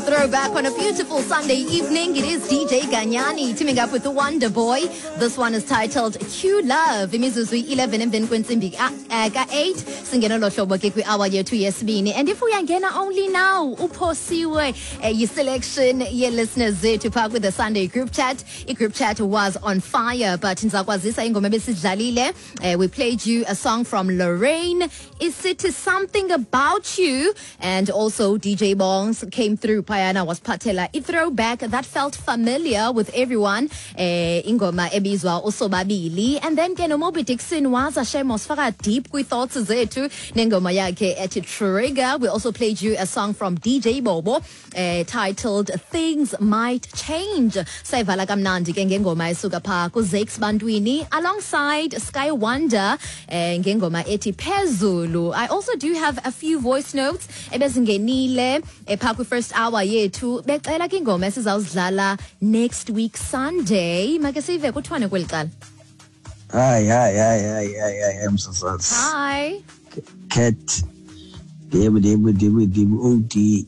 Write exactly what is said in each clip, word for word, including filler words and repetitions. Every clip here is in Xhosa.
Throwback on a beautiful Sunday evening. It is D J Ganyani teaming up with the Wonder Boy. This one is titled Q Love. Imizuzu eleven emveni kwentsimbi ka-eight. Singena lo hlobo ke kwi-hour yethu yesibini. And if uyangena only now, uphosiwe eh, yi-selection ye-listeners zethu phaa with the Sunday group chat. I-group chat was on fire, but ndizakwazisa ingoma ebesidlalile. Eh, we played you a song from Lorraine, isithi "Something About You", and also D J Bongs came through phayana wasiphathela i-throwback that felt familiar with everyone, eh, ingoma ebizwa "Usobabili". And then ke noMobi Dixon waza shem wasifaka deep kwi-thoughts zethu nengoma yakhe ethi "Trigger". We also played you a song from D J Bobo eh, titled "Things Might Change". Sayivala kamnandi ke ngengoma esuka phaa kuZakes Bantwini alongside Sky Wonder eh, ngengoma ethi "Phezulu". I also do have a few voice notes ebezingenile phaa kwi-first hour yethu becela ke ingoma esizawuzidlala next week Sunday. Make sive kuthiwane kweli cala. Hayi, hayi, hayi, hayi, hayi, hayi, msasazi. Hi. Cat. Ndibu, ndibu, ndibu, ndibu, O D.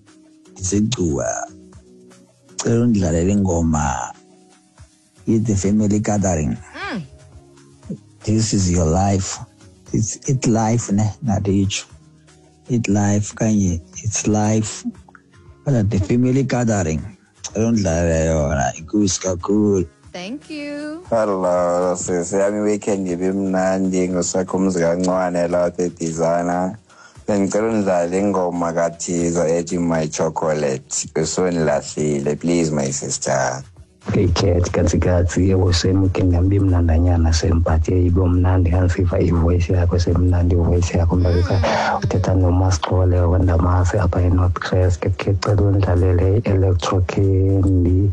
Ndisegcuwa. Cela undidlalele ingoma i The Family Gathering. Mm. "This Is Your Life". It's it life ne, ngaditsho. It life kanye it's life. Kodwa The Family Gathering. Cela undidlalele yona, inkosi kakhulu. Thank you. Hello, sisi yami, weekend ibimnandi. Ngusakho umzi kancwane lapha eBizana. Bengicela undlale ingoma kaThizo ethi "My Chocolate". Usondilahlile, please, my sister. Hey Cat, katsi katsi, yebo same, weekend yami ibimnandanyana same, but ibe mnandi ngandisiva ivoice yakho, semnandi ivoice yakho mbabisa. Uthetha noMasixole wakwandamasi apha eNorth Crest. Ke cela undlalele i-Electro Candy,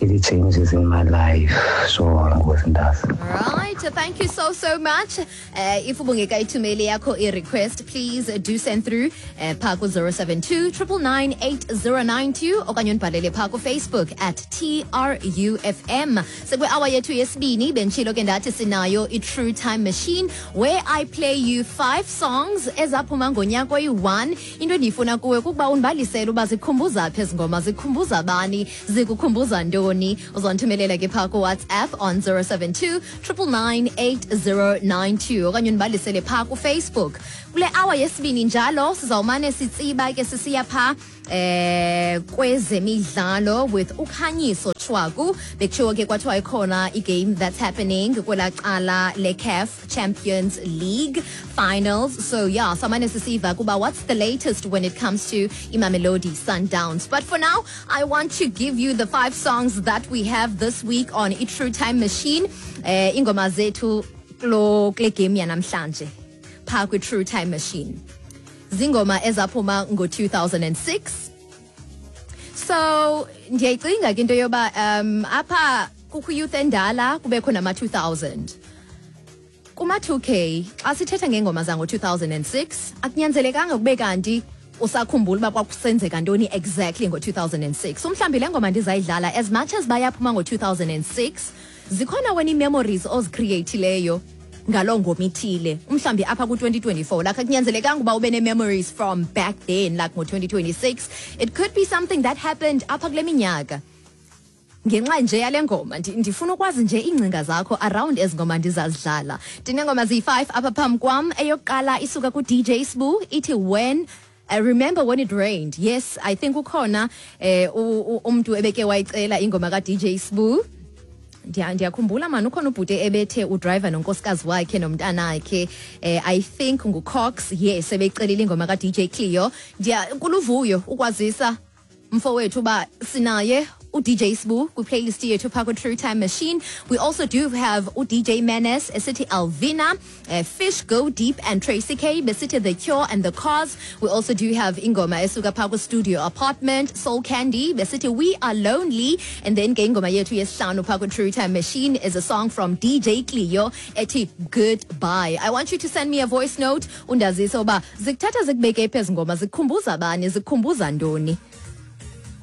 ithi "Changes in My Life". So ngosi ntasi. Right, thank you so so much. Uh, if ubungekayithumeli yakho i-request, please do send through uh, phaa ku-zero seven two nine nine nine eight zero nine two okanye undibhalele phaa ku-Facebook at T R U F M. Sekwi-hour yethu yesibini, benditshilo ke ndathi sinayo i-True Time Machine, where I play you five songs ezaphuma ngonyaka oyi-one. Into endiyifuna kuwe kukuba undibalisele uba zikukhumbuza phi ezi ngoma, zikukhumbuza bani, zikukhumbuza ntoni. Uzondithumelela ke phaa kuWhatsApp on zero seven two nine nine nine eight zero nine two okanye undibalisele phaa kuFacebook. Kule hour yesibini njalo sizawumane sitsiba ke sisiya phaa eh kwezemidlalo with uKhanyiso Chwaku. Bekutshiwo ke kwathiwa ikhona igame that's happening kwelaa cala le-CAF Champions League finals, so yeah, samane sisiva kuba what's the latest when it comes to iMamelodi Sundowns. But for now, I want to give you the five songs that we have this week on i-True Time Machine, eh ingoma zethu kulo kule game yanamhlanje phaa kwi-True Time Machine, zingoma ezaphuma ngo-two thousand six. So ndiyayicinga ke into yoba um apha kukho youth endala, kubekho nama-two thousand, kuma-two K. Xa sithetha ngengoma zango-two thousand six, akunyanzelekanga kube kanti usakhumbula uba kwakusenzeka ntoni exactly ngo-two thousand six. Umhlawumbi le ngoma ndizayidlala, as much as bayaphuma ngo-two thousand six, zikhona wena ii-memories ozicreatileyo ngaloo ngoma ithile umhlawumbi apha ku-twenty twenty-four. Like, akunyanzelekanga uba ube nee-memories from back then, like ngo-twenty twenty-six. It could be something that happened apha kule minyaka. Ngenxa nje yale ngoma, ndi- ndifuna ukwazi nje iingcinga zakho around ezi ngoma ndizazidlala. Ndinengoma ziyi-five apha phambi kwam. Eyokuqala isuka ku-D J Sbu, ithi when I "Remember When It Rained". Yes, I think ukhona eh u- u- umntu ebeke wayicela ingoma ka-D J Sbu. Ndiya- ndiyakhumbula mani, ukhona ubhuti ebethe udriver nonkosikazi wakhe nomntanakhe, eh, I think nguCox, yes, ebeyicelile ingoma ka-D J Cleo. Ndiya kuluvuyo ukwazisa mfowethu uba sinaye u-D J Sbu kwiplaylist yethu phaa kwi-True Time Machine. We also do have u-D J Menes esithi "Alvina", uh, Fish Go Deep and Tracy K besithi "The Cure and The Cause". We also do have ingoma esuka phaa kwi-Studio Apartment, Soul Candy besithi "We Are Lonely". And then ke ingoma yethu yesihlanu phaa kwi-True Time Machine is a song from D J Cleo ethi "Goodbye". I want you to send me a voice note undazise uba zikuthatha zikubeke phi ezi ngoma, zikukhumbuza bani, zikukhumbuza ntoni.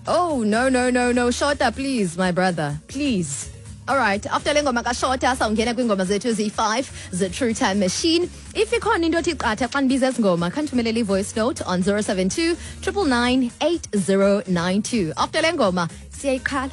Oh, no, no, no, no. Shota, please, my brother. Please. Alright, after le ngoma kaShota sawungena kwiingoma zethu eziyi-five ze-True Time Machine. If ikhona into othi qatha xa ndibiza ezi ngoma, khandithumelele i-voice note on zero seven two, nine nine nine, eight zero nine two. After le ngoma, siyayiqhala.